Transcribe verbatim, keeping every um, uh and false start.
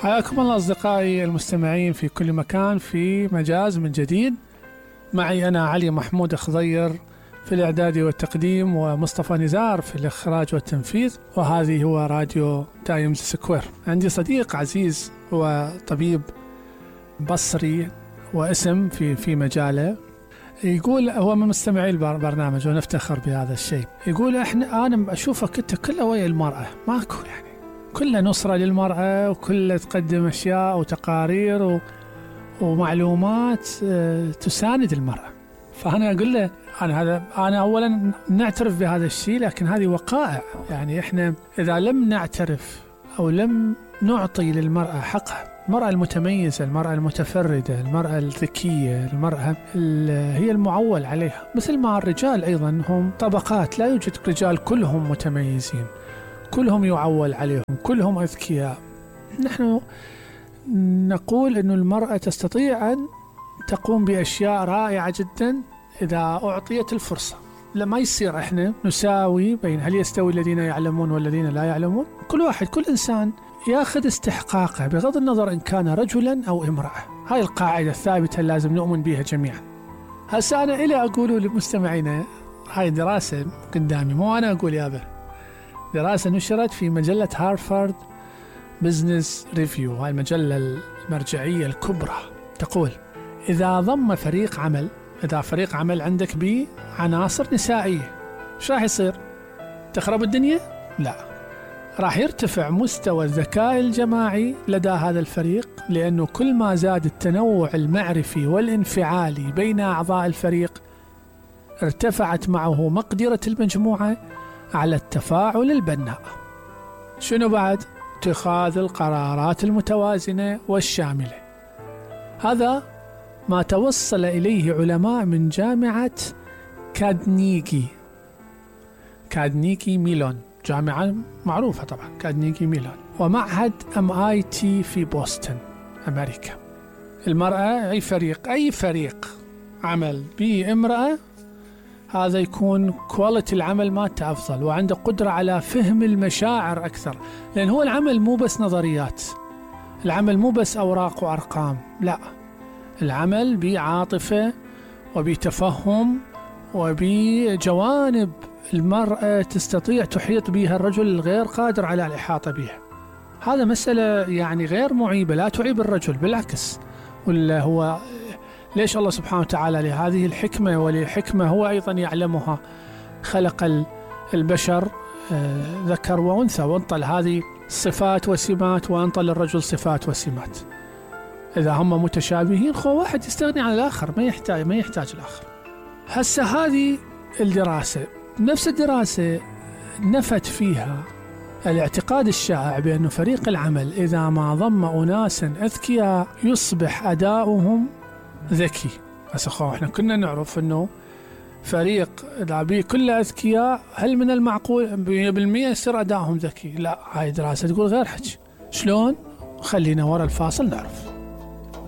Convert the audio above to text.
حياكم الله أصدقائي المستمعين في كل مكان في مجاز من جديد. معي أنا علي محمود خضير في الإعداد والتقديم، ومصطفى نزار في الإخراج والتنفيذ، وهذه هو راديو تايمز سكوير. عندي صديق عزيز هو طبيب بصري واسم في في مجاله، يقول هو من مستمعي البرنامج ونفتخر بهذا الشيء. يقول احنا انا اشوفك انت كله ويا المرأة، ماكو يعني كله نصرة للمرأة، وكله تقدم اشياء وتقارير و... ومعلومات تساند المرأة. فانا اقول له انا هذا انا اولا نعترف بهذا الشيء، لكن هذه وقائع. يعني احنا اذا لم نعترف او لم نعطي للمرأة حقها، المرأة المتميزة، المرأة المتفردة، المرأة الذكية، المرأة هي المعول عليها، مثل ما الرجال أيضا هم طبقات، لا يوجد رجال كلهم متميزين، كلهم يعول عليهم، كلهم أذكياء. نحن نقول أن المرأة تستطيع أن تقوم بأشياء رائعة جدا إذا أعطيت الفرصة. لما يصير إحنا نساوي بين هل يستوي الذين يعلمون والذين لا يعلمون، كل واحد كل إنسان ياخذ استحقاقه بغض النظر إن كان رجلا أو امرأة. هاي القاعدة الثابتة لازم نؤمن بها جميعا. هسا أنا إلي أقوله لمستمعينا، هاي دراسة قدامي، مو أنا أقول يابا، دراسة نشرت في مجلة هارفارد بزنس ريفيو، هاي المجلة المرجعية الكبرى، تقول إذا ضم فريق عمل إذا فريق عمل عندك بعناصر نسائية، شو راح يصير؟ تخرب الدنيا؟ لا، راح يرتفع مستوى الذكاء الجماعي لدى هذا الفريق، لأنه كل ما زاد التنوع المعرفي والانفعالي بين أعضاء الفريق ارتفعت معه مقدرة المجموعة على التفاعل البناء. شنو بعد؟ اتخاذ القرارات المتوازنة والشاملة. هذا ما توصل إليه علماء من جامعة كادنيجي كادنيجي ميلون، جامعة معروفة طبعا كادنيجي ميلون، ومعهد ام اي تي في بوسطن أمريكا. المرأة أي فريق أي فريق عمل به امرأة، هذا يكون كواليتي العمل مالته أفضل، وعنده قدرة على فهم المشاعر أكثر، لأن هو العمل مو بس نظريات، العمل مو بس أوراق وأرقام، لا، العمل بعاطفة وبتفهم وبجوانب المرأة تستطيع تحيط بها الرجل الغير قادر على الإحاطة بها. هذا مسألة يعني غير معيبة، لا تعيب الرجل، بالعكس. ولا هو ليش الله سبحانه وتعالى لهذه الحكمة، ولحكمة هو أيضا يعلمها، خلق البشر ذكر وأنثى، وانطى هذه صفات وسمات، وانطى للرجل صفات وسمات. إذا هم متشابهين، خو واحد يستغني عن الآخر، ما يحتاج ما يحتاج الآخر. هسه هذه الدراسة، نفس الدراسة نفت فيها الاعتقاد الشائع بأن فريق العمل إذا ما ضم أناسا أذكياء يصبح أداؤهم ذكي. هسه خو احنا كنا نعرف أنه فريق إذا بيه كله أذكياء، هل من المعقول مية بالمية يصير أداؤهم ذكي؟ لا، هاي دراسة تقول غير حكي. شلون؟ خلينا ورا الفاصل نعرف.